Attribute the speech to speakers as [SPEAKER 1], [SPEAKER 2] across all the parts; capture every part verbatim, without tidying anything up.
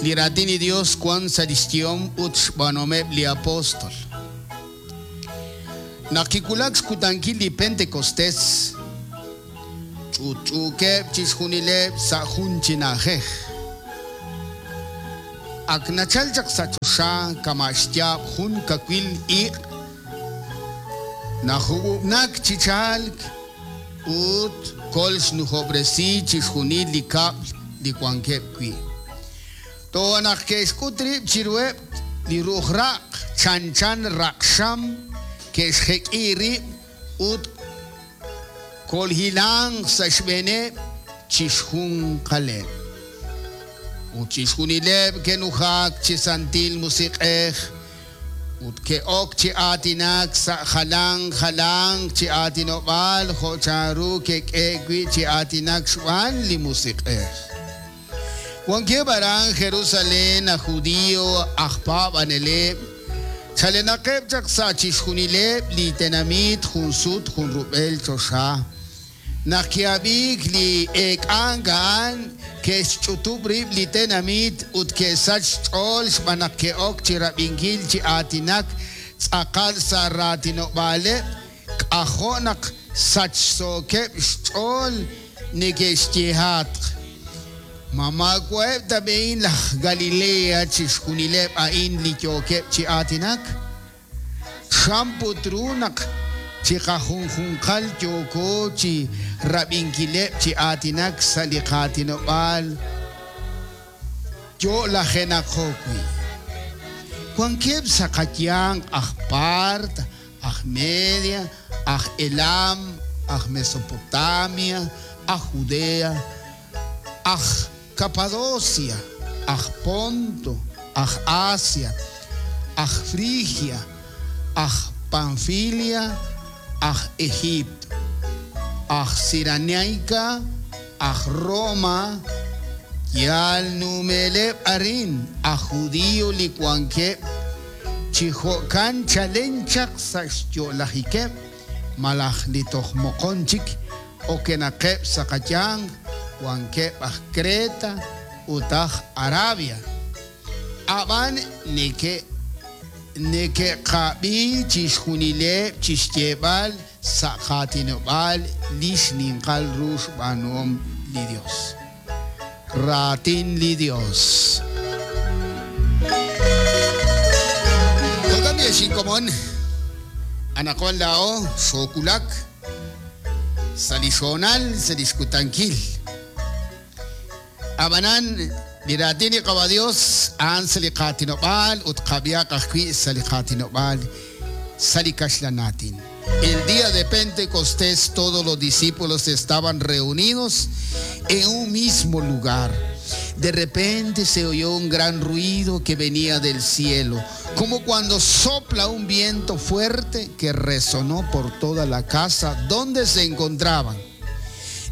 [SPEAKER 1] Li raatin li Dios wan sa' lix yehom ut xb'aanuhomeb' li apóstol. Naq kiwulak xkutankil li Pentecostés, ch'utch'uukeb' chixjunileb' sa' jun chi na'ajej. Ak nachal chaq sa' choxa kama' xyaab' jun kawil iq', najub'ub'nak chi chalk ut kol xnujob'resi chixjunil li kab'l li wankeb' wi'. Toja' naq ke'xk'ut rib' chiruheb' li ru'uj raq' chanchan raq'xam ke'xjek'i rib' ut kolhilanq sa' xb'eeneb' chixjunqaleb'. Ut chixjunileb' ke'nujak chi Santil Musiq'ej ut ke'ok chi aatinak sa' jalan jalanq chi aatinob'aal jo' chanru ke'k'e wi' chi aatinak xb'aan li Musiq'ej. Wankeb' aran Jerusalén aj judío aj paab'aneleb', chalenaqeb' chaq sa' chixjunileb' li tenamit jun sut jun rub'el choxa. Naq ki'ab'iik li eek'ank a'an ke'xch'utub' rib' li tenamit ut ke'sach xch'ool xb'aan naq ke'ok chi rab'inkil chi aatinak tz'aqal sa' raatinob'aaleb', k'ajo' naq sachsookeb' xch'ool neke'xyehatq. Ma maawa'eb' ta b'ehin laj Galilea chixjunileb' a'in li yookeb' chi aatinak? Chan put ru naq chiqajunjunqal yooko chi rab'inkileb' chi aatinak sa' li qaatinob'aal yo'lajenaqo wi'. Wankeb' sa' qayanq aj Part, aj Media, aj Elam, aj Mesopotamia, aj Judea, aj Capadocia, aj Ponto, aj Asia, aj Frigia, aj Panfilia, aj Egipto, aj Cirenaica, aj Roma, yal numeleb' arin, aj judío li wankeb', chi jo'kan chalen chaq sa' xyo'lajikeb', malaj li toj moqon chik okenaqeb' sa' qayanq, wankeb' aj Creta ut aj Arabia. Ab'an neke' neke'qab'i chixjunileb' chixyeeb'al sa' qaatinob'aal li xninqal ru xb'aanuhom li Dios. Raatin li Dios. Jo'kan b'i xinkomon, anaqwan laa'o xookulak sa' li xhoonal sa' li xkutankil. Ab'anan li raatin li Qaba Dios a'an sa' li qaatinob'aal ut qab'iaq ajwi' sa' li qaatinob'aal sa' li kaxlan aatin. El día de Pentecostés todos los discípulos estaban reunidos en un mismo lugar. De repente se oyó un gran ruido que venía del cielo, como cuando sopla un viento fuerte que resonó por toda la casa donde se encontraban.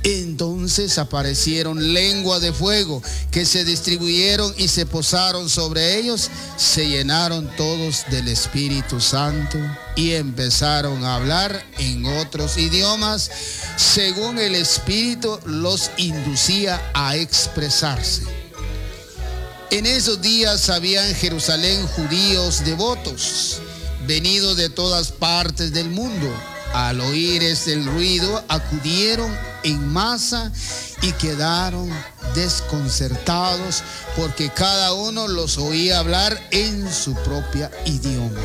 [SPEAKER 1] Entonces aparecieron lenguas de fuego que se distribuyeron y se posaron sobre ellos. Se llenaron todos del Espíritu Santo y empezaron a hablar en otros idiomas, según el Espíritu los inducía a expresarse. En esos días había en Jerusalén judíos devotos, venidos de todas partes del mundo. Al oír este ruido, acudieron en masa y quedaron desconcertados porque cada uno los oía hablar en su propia idioma.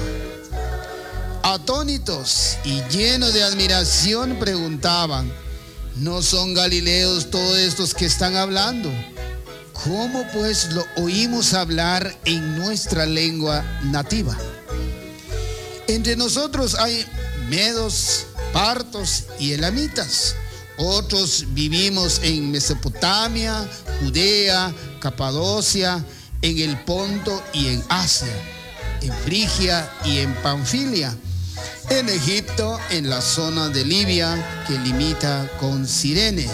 [SPEAKER 1] Atónitos y llenos de admiración preguntaban: ¿no son galileos todos estos que están hablando? ¿Cómo pues lo oímos hablar en nuestra lengua nativa? Entre nosotros hay medos, partos y elamitas. Otros vivimos en Mesopotamia, Judea, Capadocia, en el Ponto y en Asia, en Frigia y en Panfilia, en Egipto, en la zona de Libia que limita con Cirene.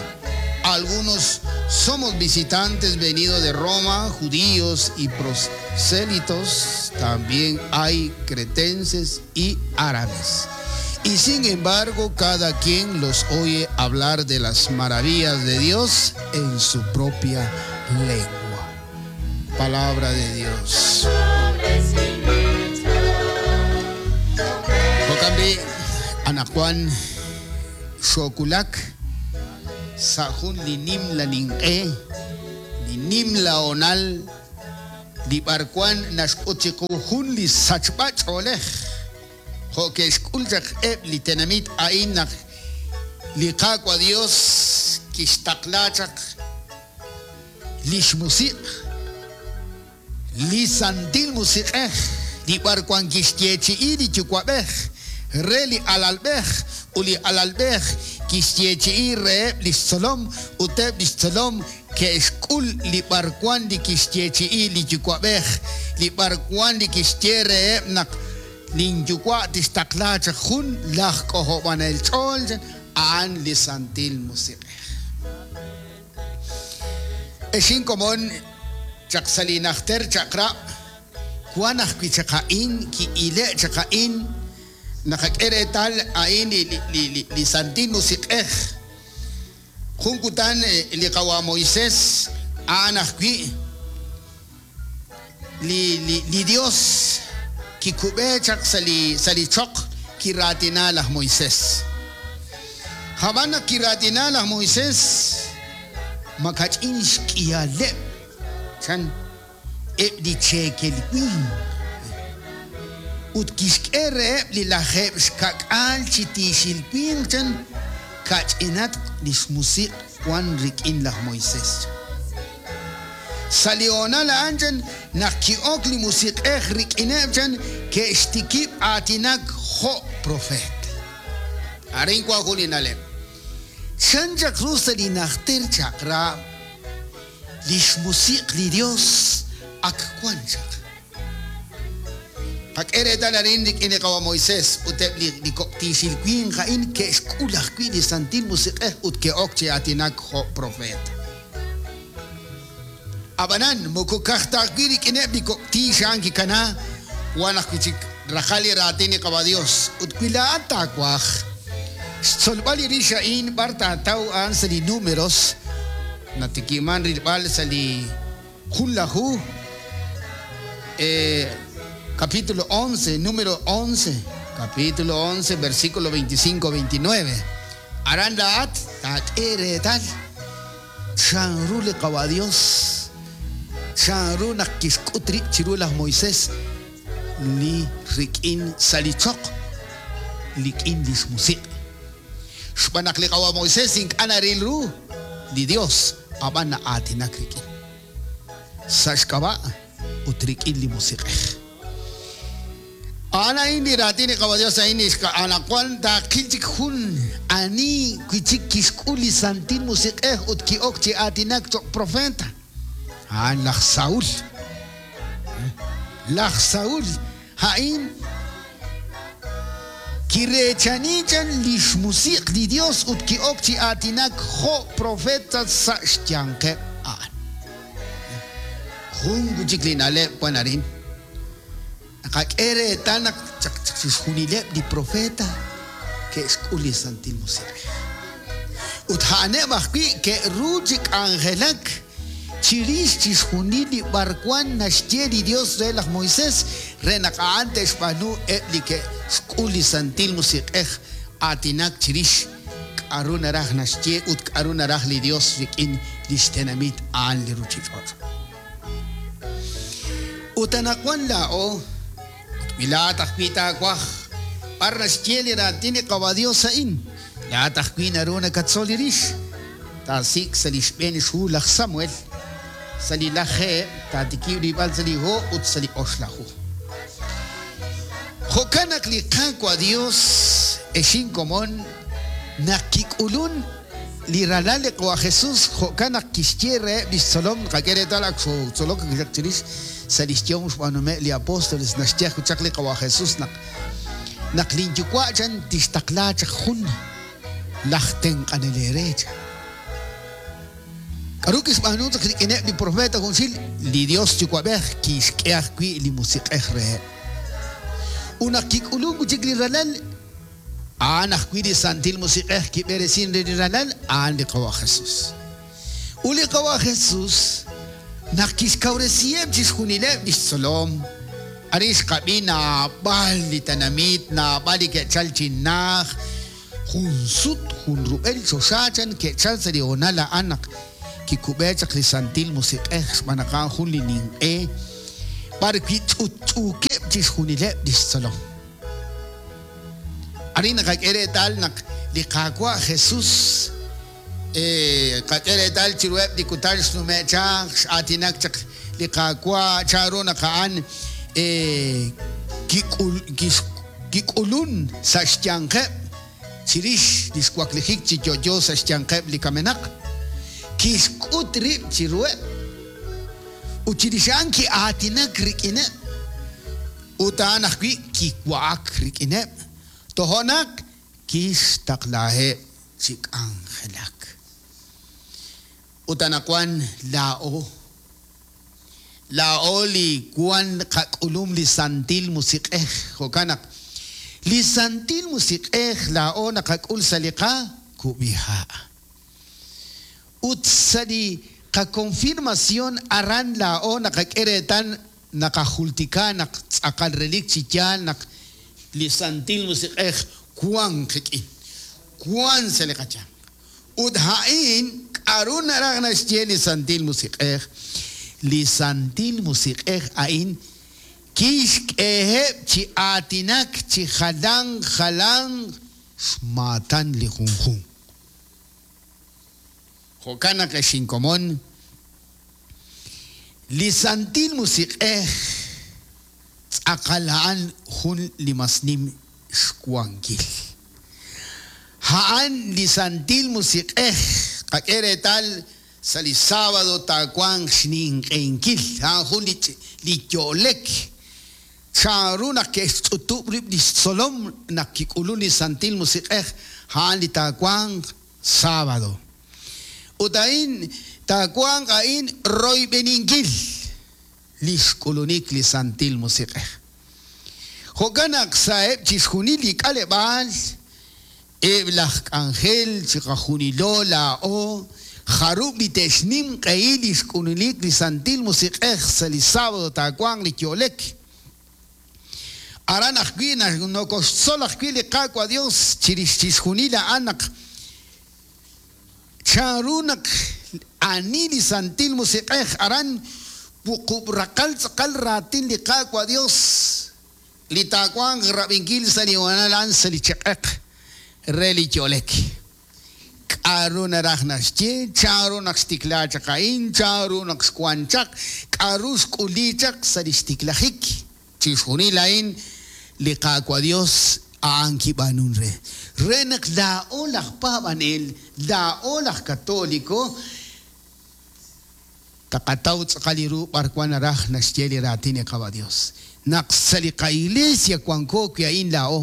[SPEAKER 1] Algunos somos visitantes venidos de Roma, judíos y prosélitos, también hay cretenses y árabes. Y sin embargo, cada quien los oye hablar de las maravillas de Dios en su propia lengua. Palabra de Dios. Jo'kan b'i' anaqwan xokulak sa' jun li nimla ninq'e, li nimla honal, li b'arwan naxk'ut chiqu jun li sachb'a ch'oolej. Jo' ke'xk'ul chaq eb' li tenamit a'in naq li Qaawa' Dios kixtaqla chaq lix musiq', li Santil Musiq'ej, li b'arwan kixyeechi'i li Yuwa'b'ej re li alalb'ej ut li alalb'ej kixyeechi'i reheb' lix tzolom ut eb' lix tzolom ke'xk'ul li b'arwan li kixyeechi'i li Yuwa'b'ej, li b'arwan li kixye reheb' naq linyuwa' tixtaqla chaq jun laj k'ojob'anel ch'ool a'an li Santil Musiq'ej. Exin komon chaq sa' li najter chaq'rab' wan ajwi' chaq a'in ki'ile' chaq a'in naqak'e reetal a'in li li li li Santil Musiq'ej. Jun kutan li qawa Moisés a'an ajwi' li li li Dios kikub'e chaq sa' li sa' li choq kiraatina laj Moisés. Hab'an naq kiraatina laj Moisés makach'in xk'ihaleb' chan eb' li cheekel winq ut kixk'e reheb' li lajeb' xkak'aal chi tiixil winq chan kach'inatq lix musiq' wan rik'in laj Moisés. Sa' li honal a'an chan naq ki'ok li musiq'ej rik'ineb' chan ke'xtikib' aatinak jo' profeet. Arin wan jun li na'leb'. Chan chaq ru sa' li najter chaq'rab' lix musiq' li Dios ak wan chaq. Qak'e reetal arin rik'in li qawa Moisés ut eb' li li kok' tiixil winq a'in ke'xk'ul ajwi' li Santil Musiq'ej ut ke'ok chi aatinak jo' profeet. Ab'anan moko kaj ta ajwi' rik'ineb' li kok' tiix a'an kikana wan ajwi' chik rajal li raatin li qawa Dios ut wi laa'at taawaj xtzolb'al li rix a'in b'ar taataw a'an sa' li Números natikiman rilb'al sa' li jun laju eh, capítulo once, número once, capítulo once, versículo veinticinco veintinueve. Aran laat taak'e reetal chanru li qawa Dios chanru naq kixk'ut rib' chiru laj Moisés li rik'in sa' li choq lik'in lix musiq'. Xb'aan naq li qawa Moisés ink'a' naril ru li Dios ab'an na'aatinak rik'in sa' xk'ab'a' ut rik'in li musiq'ej. A'an a'in li raatin li qawa Dios a'in anaqwan taaqil chik jun ani wi chik kixk'ul li Santil Musiq'ej ut ki'ok chi aatinak choq' profeta. A'an laj Saúl. Laj Saúl a'in kireechani chan lix musiq' li Dios ut ki'ok chi aatinak jo' profeta sa' xyanqeb' a'an. Jun wi chik li na'leb' wan arin. Naqak'e reetal naq chaq chixjunileb' li profeta ke'xk'ul li Santil Musiq'ej. Ut a'aneb' ajwi' ke'ru chi k'anjelak chirix chixjunil li b'arwan naxye li Dios re laj Moisés re naq a'an te'xb'aanu eb' li ke'xk'ul li Santil Musiq'ej aatinak chirix k'a'ru naraj naxye ut k'a'ru naraj li Dios rik'in lix tenamit a'an li ruchich'och'. Ut anaqwan laa'o wi laa'at ajwi' taawaj b'ar naxye li raatin li qawa Dios a'in laa'at ajwi' naru nakatzol li rix taasik' sa' li xb'een xhu laj Samuel sa' li lajeeb' taatikib' rib'al sa' li ho ut sa' li oxlaju. Jo'kan naq li Qaawa' Dios exin komon naq kik'ulun li ralal li qawa Jesús jo'kan naq kixye reheb' lix tzolom qak'e reetal ak xootzolok chirix sa' lix yehom xb'aanume' li apóstoles naxye ajwi' chaq li qawa Jesús naq naq linyuwa' chan tixtaqla chaq jun laj tenq'anel eere chan. K'aru kixb'aanu chaq rik'ineb' li profeta junxil li Dios Yuwa'b'ej kixk'e ajwi' li musiq'ej reheb'. Ut naq kik'ulun wi' chik li ralal a'an ajwi' li Santil Musiq'ej kib'eresin re li ralal a'an li qawa Jesús. Ut li qawa Jesús Naq kixkawresiheb' chixjunileb' lix tzolom, arin xqab'i naab'al li tenamit, naab'al li ke'chal chi naj, jun sut, jun rub'el choxa chan ke'chal sa' li honal a'an naq kikub'e chaq li Santil Musiq'ej xb'aan naq a'an jun li ninq'e b'ar wi' ch'utch'uukeb' chixjunileb' lix tzolom. Arin naqak'e reetal naq li Qaawa' Jesus qak'e reetal chiruheb' li kutan xnume' chaq, x'aatinak chaq li Qaawa' chanru naq a'an kik'ulun sa' xyanqeb' chirix li xwaklijik chi yo'yo sa' xyanqeb' li kamenaq, kixk'ut rib' chiruheb' ut chirix a'an ki'aatinak rik'ineb' ut a'an ajwi' kiwa'ak rik'ineb' tojo'naq kixtaqlaheb' chi k'anjelak. Ut anaqwan laa'o laa'o li wan qak'ulum li Santil Musiq'ej, jo'kan naq li Santil Musiq'ej laa'o naqak'ul sa' li qakub'iha'. Ut sa' li qakonfirmación aran laa'o naqak'e reetal naqajultika naq tz'aqal relik chi yaal naq li Santil Musiq'ej wan qik'in, wan sa' li qayanq. Ut a'in k'aru naraj naxye li Santil Musiq'ej? Li Santil Musiq'ej a'in kixk'eheb' chi aatinak chi jalan jalan xmaatan li junjunq. Jo'kan naq ex inkomon, li Santil Musiq'ej tz'aqal a'an jun li mas nim xwankil. A'an li Santil Musiq'ej qak'e reetal sa' li sábado taawanq xninq'enkil, a'an jun li li yo'lek. Chanru naq ke'xch'utub' rib' li xtzolom naq kik'ulun li Santil Musiq'ej, a'an li taawanq sábado. Ut a'in taawanq a'in royb'eninkil li xk'ulunik li Santil Musiq'ej. Jo'kan naq sa'eb' chixjunil li k'aleb'aal, eb' laj k'anjel chiqajunilo laa'o, jarub' li te'xnimq'ehi li xk'ulunik li Santil Musiq'ej sa' li sábado taawanq li yo'lek. Aran ajwi' nokoxtzol ajwi' li Qaawa' Dios chirix chixjunil a'an naq chanru naq ani li Santil Musiq'ej aran wuqub' raqal tz'aqal raatin li Qaawa' Dios li taawanq rab'inkil sa' li honal a'an sa' li cheq'eq re li yo'lek. K'aru naraj naxye, chanru naq xtikla chaq a'in, chanru naq xwan chaq, k'aru xk'uli chaq sa' li xtiklajik. Chixjunil a'in li Qaawa' Dios a'an kib'aanun re. Re naq laa'o laj paab'anel, laa'o laj katoliko, taqataw tz'aqal li ru b'ar wan naraj naxye li raatin li Qaawa' Dios. Naq sa' li qa'iglesia wanko wi' a'in laa'o,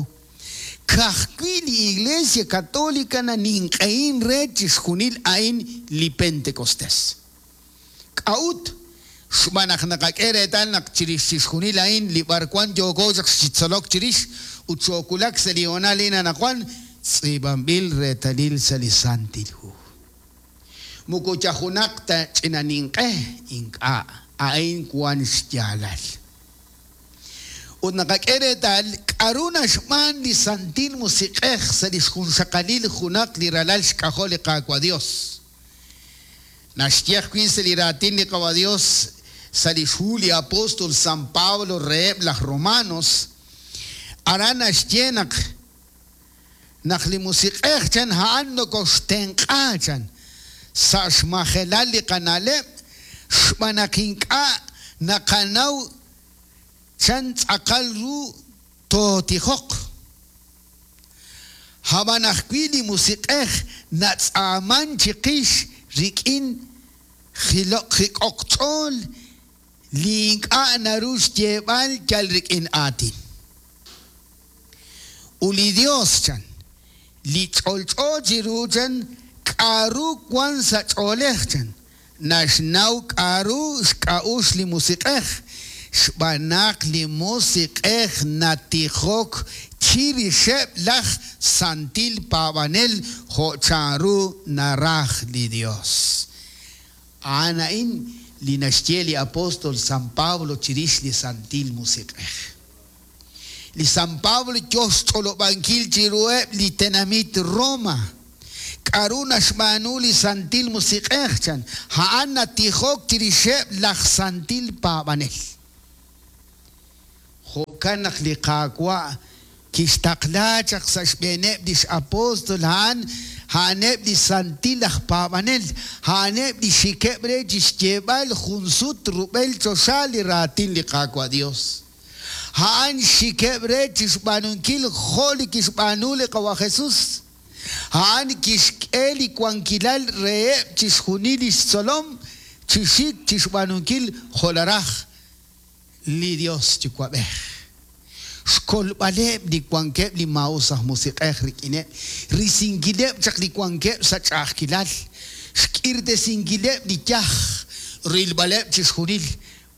[SPEAKER 1] ka'ajwi' li Iglesia Católica naninq'ehin re chixjunil a'in li Pentecostés. K'a'ut xb'aan naq naqak'e reetal naq chirix chixjunil a'in li b'ar wan yooko chaq xitzolok chirix ut xookulak sa' li honal a'in anaqwan tz'iib'anb'il reetalil sa' li Santil Hu. Moko yajunaq ta ch'ina ninq'e ink'a' a'in wan xyaalal. Ut naqak'e reetal k'aru naxb'aan li Santil Musiq'ej sa' li xjunxaqalil junaq li ralal xk'ajol li Qaawa' Dios. Naxye ajwi' sa' li raatin li Qaawa' Dios sa' li xhu li apóstol San Pablo reheb' laj Romanos, aran naxye naq naq li Musiq'ej chan a'an nokoxtenq'a chan sa' xmajelal li qana'leb' xb'aan naq ink'a' naqanaw chan tz'aqal ru tootijoq. Hab'an ajwi' li Musiq'ej natz'aaman chiqix rik'in jiloq jik'oq ch'ool li ink'a' naru xyeeb'al yal rik'in aatin. Ut li Dios chan, li ch'olch'o chiru chan k'aru wan sa' ch'oolej chan, naxnaw k'aru xk'a'ux li Musiq'ej, xb'aan naq li Musiq'ej natijok chirixeb' laj Santil Paab'anel jo' chanru naraj li Dios. A'an a'in li naxye li apóstol San Pablo chirix li Santil Musiq'ej. Li San Pablo yo xch'olob'ankil chiruheb' li tenamit Roma. K'aru naxb'aanu li Santil Musiq'ej chan? A'an natijok chirixeb' laj santil paab'anel. Jo'kan naq li Qaawa' kixtaqla chaq sa' xb'eeneb' lix apóstol a'an a'aneb' li santil aj paab'anel, a'aneb' li xikeb' re chi xyeeb'al jun sut rub'el choxa li raatin li Qaawa' Dios. A'an xikeb' re chi xb'aanunkil jo' li kixb'aanu li Qawa' Jesus. A'an kixk'e li wankilal reheb' chixjunil lix tzolom chi xik chi xb'aanunkil jo' naraj li Dios Yuwa'b'ej. Xkolb'aleb' li wankeb' li maa'us aj musiq'ej rik'ineb', risinkileb' chaq li wankeb' sa' ch'a'ajkilal, xk'irtesinkileb' li yaj, rilb'aleb' chixjunil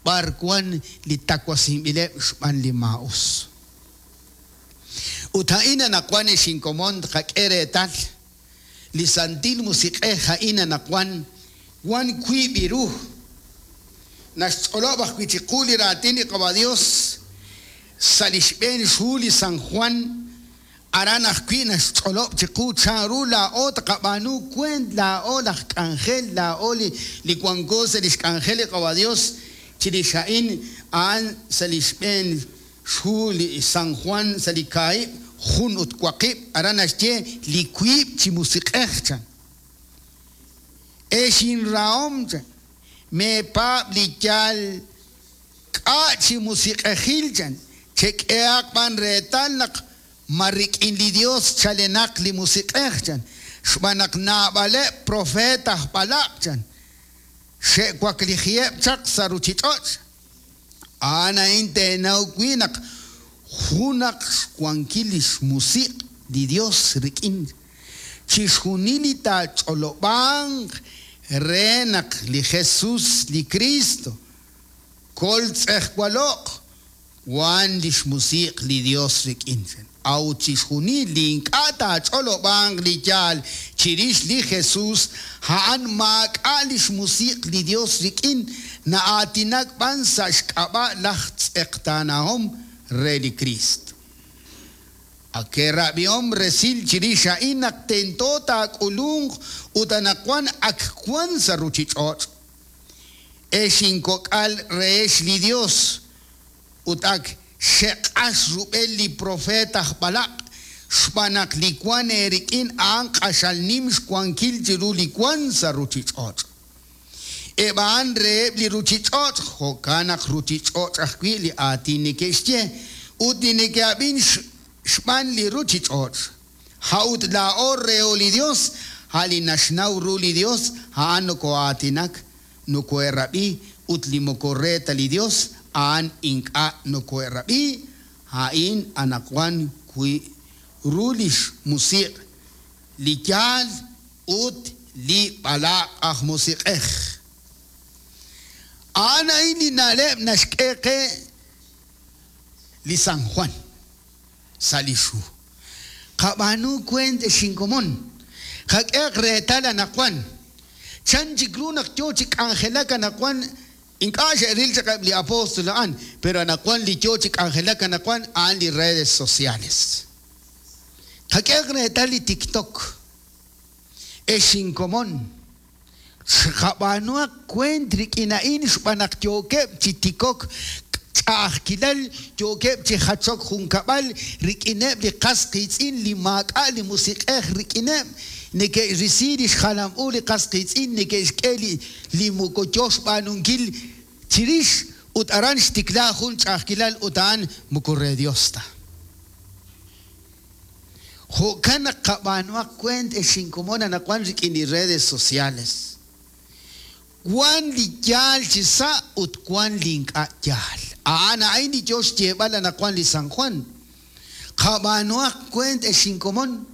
[SPEAKER 1] b'ar wan li tawasinb'ileb' xb'aan li maa'us. Ut a'in anaqwan ex inkomon tqak'e reetal li Santil Musiq'ej a'in anaqwan wan wiib' ru. Naxch'olob' ajwi' chiqu li raatin li Qawa' Dios sa' li xb'een xhu li San Juan aran ajwi' naxch'olob' chiqu chanru laa'o tqab'aanu kuent laa'o laj k'anjel laa'o li li wanko sa' li xk'anjel li Qawa' Dios chirix a'in a'an sa' li xb'een xhu li San Juan sa' li kaahib' jun ut waqib' aran naxye li wiib' chi musiq'ej chan. Ex inrahom chan meepaab' li yaal k'a' chi musiq'ejil chan chek'ehaq b'an reetal naq ma rik'in li Dios chalenaq li musiq'ej chan xb'aan naq naab'aleb' profeet aj b'alaq' chan xe'waklijiheb' chaq sa' ruchich'och'. A'an a'in teenaw wi' naq junaq xwankil li xmusiq' li Dios rik'in chixjunil li taach'olob'anq re naq li Jesus li Cristo kol tz'ejwaloq wan li xmusiq' li Dios rik'in. A'ut chixjunil li ink'a' taach'olob'anq li yaal chirix li Jesus a'an maak'a' li xmusiq' li Dios rik'in na'aatinak b'an sa' xk'ab'a' laj tz'eqtaanahom re li Cristo. Ak ke'rab'ihom resil chirix a'in naq tento taak'ulunq ut anaqwan ak wan sa' ruchich'och'. Ex inkok'al rehex li Dios ut ak xeq'ax rub'el li profeet aj b'alaq' xb'aan naq li wan eerik'in a'an q'axal nim xwankil chiru li wan sa' ruchich'och'. Eb' a'an reheb' li ruchich'och' jo'kan naq ruchich'och' ajwi' li aatin neke'xye ut li neke'ab'in xb'aan li ruchich'och'. A'ut laa'o reho li Dios, a' li naxnaw ru li Dios, a'an noko'aatinak, noko'erab'i ut li moko re ta li Dios, a'an ink'a' noko'erab'i, a'in anaqwan wi ru li xmusiq' li yaal ut li b'alaq' aj musiq'ej. A'an a'in li na'leb' naxk'e qe li San Juan sa' li xhu. Qab'aanu kuent ex inkomon. Qak'ehaq reetal anaqwan. Chan chik ru naq yo chi k'anjelak anaqwan ink'a' xe'ril chaq eb' li apóstol a'an, pero anaqwan li yo chi k'anjelak anaqwan a'an li redes sociales. Qak'ehaq reetal li TikTok. Ex inkomon. Xqab'aanuaq kuent rik'in a'in xb'aan naq yookeb' chi tikok ch'a'ajkilal yookeb' chi jachok junkab'al rik'ineb' li qas qiitz'in li maak'a' li musiq'ej rik'ineb' neke'risi li xjalam u li qas qiitz'in neke'xk'e li li moko yo xb'aanunkil chirix ut aran xtikla jun ch'a'ajkilal ut a'an moko re Dios ta. Jo'kan naq qab'aanuaq kuent ex inkomon anaqwan rik'in li redes sociales. Wan li yaal chi sa' ut wan li ink'a' yaal. A'an a'in li yo xyeeb'al anaqwan li San Juan. Qab'aanuaq kuent ex inkomon.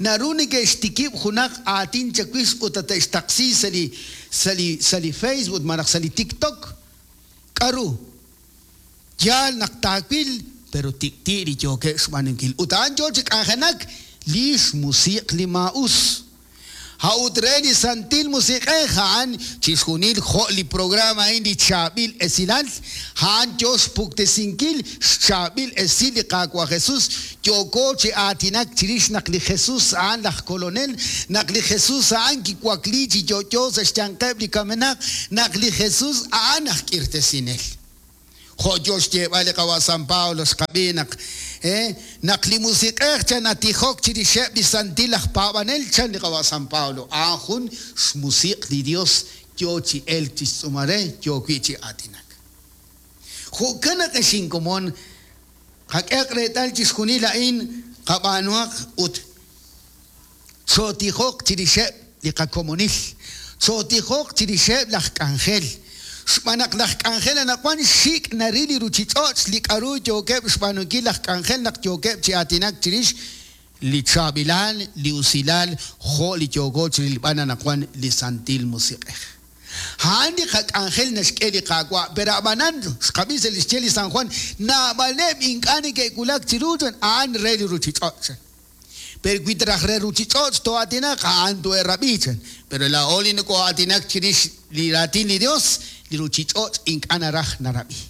[SPEAKER 1] Naru neke'xtikib' junaq aatin chawix ut tate'xtaqsi sa' li sa' li sa' li Facebook malaj sa' li TikTok. K'aru? Yaal naq taawil pero tik'ti' li yookeb' xb'aanunkil. Ut a'an yo chi k'anjenak li xmusiq' li maa'us. A'ut re li Santil Musiq'ej a'an chixjunil jo' li programa a'in li chaab'il esilal, a'an yo xpuktesinkil xchaab'il esil li Qaawa' Jesus, yooko chi aatinak chirix naq li Jesus a'an laj kolonel, naq li Jesus a'an kiwakli chi yo'yo sa' xyanqeb' li kamenaq, naq li Jesus a'an aj k'irtesinel. Jo' yo xyeeb'al li Qawa' San Pablo xqab'i naq eh, naq li Musiq'ej chan natijok chirixeb' li santil aj paab'anel chan li Qawa' San Pablo, a'an jun xmusiq' li Dios yo chi elk chi xtz'uumal re, yo wi' chi aatinak. Jo'kan naq ex inkomon, qak'ehaq reetal chixjunil a'in qab'aanuhaq ut chootijoq chirixeb' li qakomonil, chootijoq chirixeb' laj k'anjel. Xb'aan naq laj k'anjel anaqwan xik' naril li ruuchich'och' li k'aru yookeb' xb'aanunkil laj k'anjel naq yookeb' chi aatinak chirix li chaab'ilal, li usilal, jo' li yooko chirilb'al anaqwan li Santil Musiq'ej. A'an li qak'anjel naxk'e li Qaawa', pero ab'anan xqab'i sa' li xye li San Juan, naab'aleb' ink'a' neke'wulak chiru chan, a'an re li ruuchich'och' chan. Pero wi raj re ruuchich'och' too'aatinaq, a'an to'erab'i chan. Pero laa'o li nokoo'aatinak chirix li raatin li Dios, li ruuchich'och' ink'a' naraj narab'i.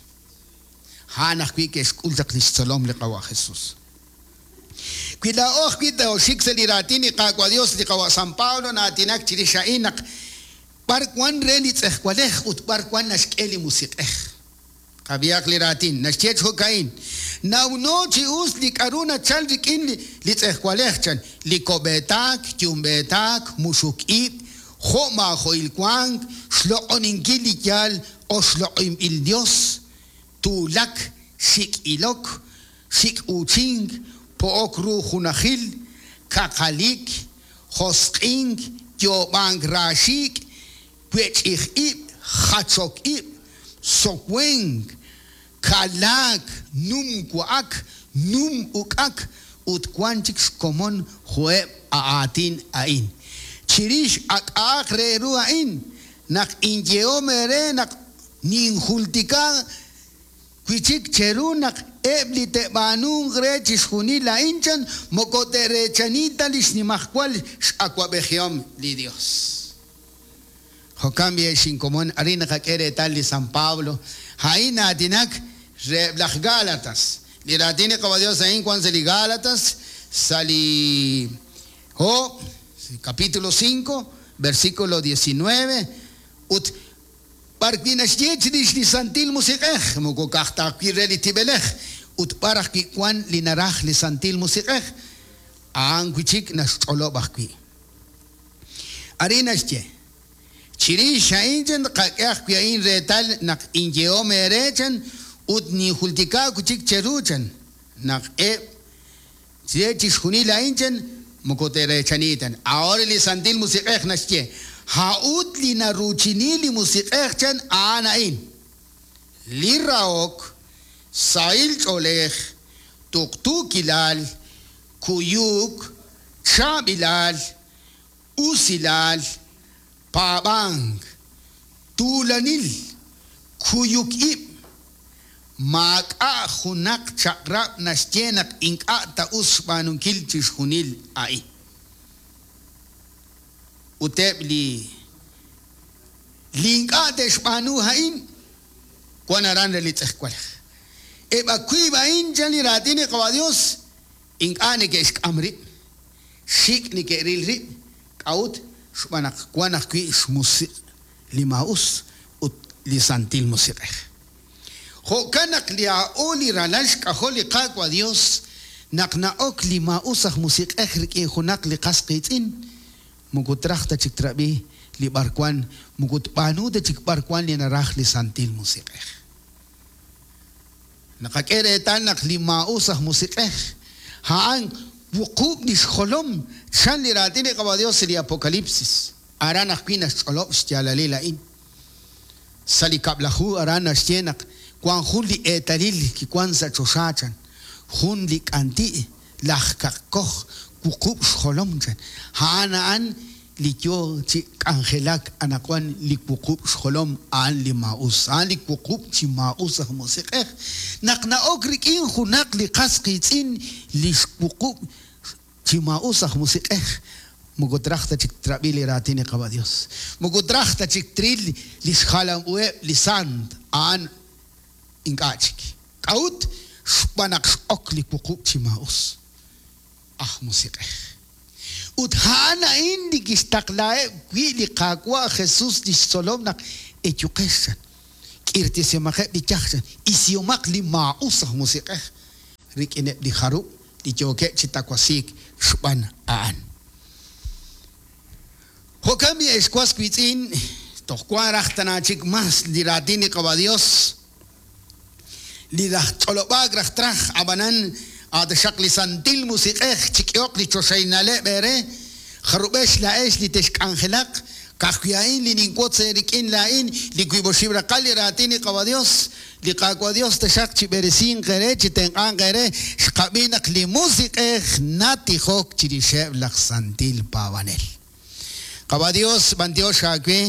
[SPEAKER 1] A'an ajwi' ke'xk'ul chaq li xtzolom li Qawa' Jesus. Wi laa'o ajwi' tooxik sa' li raatin li Qaawa' Dios, li Qawa' San Pablo na'aatinak chirix a'in naq b'ar wan re li tz'ejwalej ut b'ar wan naxk'e li musiq'ej. Qab'ihaq li raatin, naxye jo'ka'in, nawno chi us li k'aru nachal rik'in li tz'ejwalej chan, li kob'eetaak, yumb'eetaak, muxuk ib', jo' maajo'il wank, xloq'oninkil li yaal oxloq'inb'il Dios, tuulak, xik' ilok, xik' uuchink, po'ok ru junajil, kaqalik, josq'ink, yoob'ank raaxiik', wech'ij ib', jachok ib', sowenk, kalaak, num wa'ak, num uk'ak, ut wan chik xkomon jo'eb' aatin a'in. Chirix ak'a'aq re ru a'in, naq inyehom eere naq ninjultika wi' chik cheru naq eb' li te'b'aanunq re chixjunil a'in chan moko te'reechani ta li xnimajwal x'awab'ejihom li Dios. Jo'kan b'i ex inkomon, arin naqak'e reetal li San Pablo, a'in na'aatinak reheb' laj Gálatas. Li raatin li Qawa' Dios a'in wan sa' li Gálatas, sa' li ho, capítulo cinco, versículo diecinueve, ut b'ar wi' naxye chirix li Santil Musiq'ej, moko ka'aj ta wi' re li tib'elej, ut b'ar ajwi' wan li naraj li Santil Musiq'ej, a'an wi' chik naxch'olob' ajwi'. Arin naxye, chirix a'in chan qak'e ajwi' a'in reetal naq inyehom eere chan ut ninjultika wi' chik cheru chan naq eb' che chixjunil a'in chan moko te'reechani tan. Ahora li Santil Musiq'ej naxye, ha'ut li naruuchini li Musiq'ej chan a'an a'in. Li rahok, sahil ch'oolej, tuqtuukilal, kuyuk, chaab'ilal, usilal, paab'ank, tuulanil, kuyuk ib', maak'a' junaq chaq'rab' naxye naq ink'a' ta us xb'aanunkil chixjunil a'in. Ut eb' li li ink'a' te'xb'aanu a'in wan aran re li tz'ejwalej. Eb' awiib' a'in chan li raatin li Qawa' Dios ink'a' neke'xk'am rib', xik' neke'ril rib', k'a'ut xb'aan naq wan ajwi' xmusiq' li maa'us ut li Santil Musiq'ej. Jo'kan naq li a'o li ralal xk'ajol li Qaawa' Dios naq na'ok li maa'us aj musiq'ej rik'in junaq li qas qiitz'in, moko traj ta chik trab'i li b'ar wan, moko tb'aanu ta chik b'ar wan li naraj li Santil Musiq'ej. Naqak'e reetal naq li maa'us aj musiq'ej a'an wuqub' li xjolom chan li raatin li Qawa' Dios li Apocalipsis. Aran ajwi' naxch'olob' xyaalalil a'in. Sa' li kab'laju aran naxye naq wan jun li eetalil kiwan sa' choxa chan, jun li k'anti' laj kaqkoj wuqub' xjolom chan. A'an a'an li yo chi k'anjelak anaqwan li wuqub' xjolom a'an li maa'us, a'an li wuqub' chi maa'us aj musiq'ej. Naq na'ok rik'in junaq li qas qiitz'in li xwuqub' chi maa'us aj musiq'ej, Moko traj ta chik trab'i li raatin li Qaawa' Dios. Moko traj ta chik tril li xjalam uheb' li sant a'an ink'a' chik. K'a'ut xb'aan naq x'ok li wuqub' chi maa'us aj musiq'ej. Ut a'an a'in li kixtaqlaheb' wi' li Qaawa' Jesus li xtzolom naq eyuqex chan. K'irtisimaqeb' li yaj chan. Isihomaq li maa'us aj musiq'ej rik'ineb' li jarub' li yookeb' chi tawasiik xb'aan a'an. Jo'kan b'i ex was wiitz'in toj wan raj tana chik mas li raatin li Qaawa' Dios li raj ch'olob'aak raj traj ab'anan ataxaq li santil musiq'ej chik'ehoq li choxaynaleb' eere jarub'ex la'ex li texk'anjelaq ka'ajwi' a'in li ninwotz eerik'in laa'in li wiib' oxib' raqal li raatin li Qaawa' Dios li Qaawa' Dios taxaq chi b'eresinq eere chi tenq'anq eere xqab'i naq li musiq'ej natijok chirixeb' laj santil paab'anel. Qaawa' Dios b'antiox aawe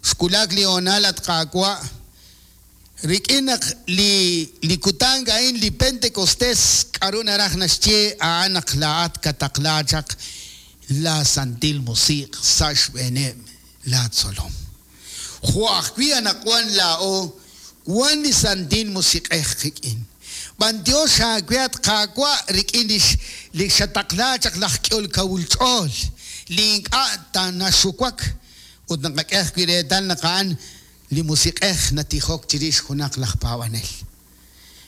[SPEAKER 1] xwulak li hoonal at Qaawa' rik'in naq li li kutan a'in li Pentecostés k'aru naraj naxye a'an naq laa'at kataqla chaq la santil musiq' sa' xb'eeneb' la tzolom. Jo' ajwi' anaqwan laa'o wan li santil musiq'ej qik'in. B'antiox aawe at Qaawa' rik'in li li xataqla chaq laj k'ehol kawul ch'ool li ink'a' tanaxuwak ut naqak'e ajwi' reetal naq a'an li musiq'ej natijok chirix junaq laj paab'anel.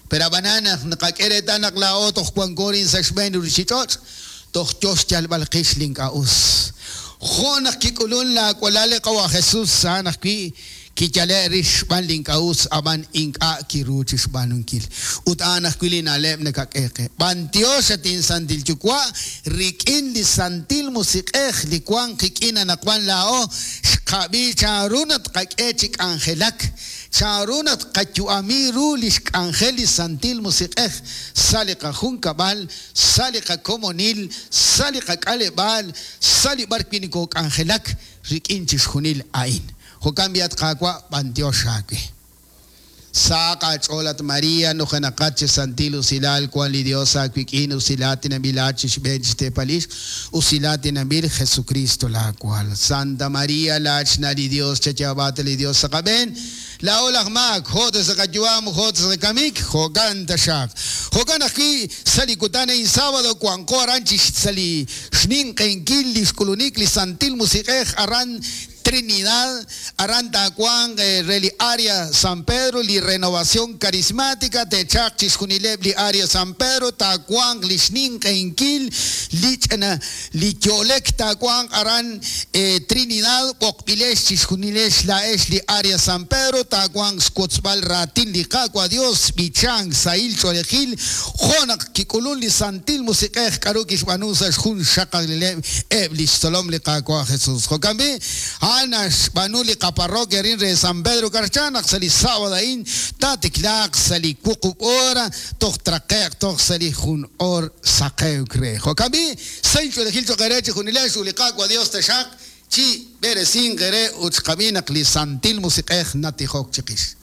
[SPEAKER 1] Pero ab'anan naq naqak'e reetal naq laa'o toj wanko rin sa' xb'een ruuchich'och' toj yo xyalb'al qix li ink'a' us. Jo' naq kik'ulun laawalal li Qaawa' Jesus a'an ajwi' kiyale' rix xb'aan li ink'a' us ab'an ink'a' kiru chi xb'aanunkil. Ut a'an ajwi' li na'leb' nakak'e qe. B'antiox at insantil yuwa' rik'in li santil musiq'ej li wan qik'in anaqwan laa'o xqab'i chanru naq tqak'e chi k'anjelak chanru naq tqayu'ami ru li xk'anjel li santil musiq'ej sa' li qajunkab'al sa' li qakomonil sa' li qak'aleb'aal sa' li b'ar wi' nokok'anjelak rik'in chixjunil a'in. Jo'kan b'i at Qaawa' b'antiox aawe. Saq aach'ool at María nujenaqat chi santil usilal wan li Dios aawik'in usilaat tinanb'ilat chi xb'een chi xteepal ixq usilaat tinanb'il Jesucristo laawal. Santa María laachna' li Dios chayaab'aat li Dios sa' qab'een laa'o laj maak jo' ta sa' qayu'am jo' ta sa' qakamik jo'kan taxaq. Jo'kan ajwi' sa' li kutan a'in sábado wanqo aran chi sa' li xninq'enkil li xk'ulunik li santil musiq'ej aran Trinidad, aran taawanq re li área San Pedro, li renovación carismática, techaq chixjunileb' li área San Pedro, taawanq li xninq'enkil li ch'ina li yo'lek taawanq aran eh, Trinidad, b'oqb'ilex chixjunilex la'ex li área San Pedro, taawanq xwotzb'al raatin li Qaawa' Dios, b'ichank sahil ch'oolejil, jo' naq kik'ulun li santil musiq'ej k'aru kixb'aanu sa' xjun xaqalileb' eb' li xtzolom li Qaawa' Jesus. Jo'kan b'i, a'an xb'aanu li qaparroquia rin re San Pedro Carchá naq sa' li sábado a'in taatiklaaq sa' li wuqub' hora toj traqe'q toj sa' li jun hor saqewk re. Jo'kan b'i, sahil ch'oolejil choq' eere chixjunilex ut li Qaawa' Dios taxaq chi b'eresinq eere ut xqab'i naq li santil musiq'ej natijok chiqix.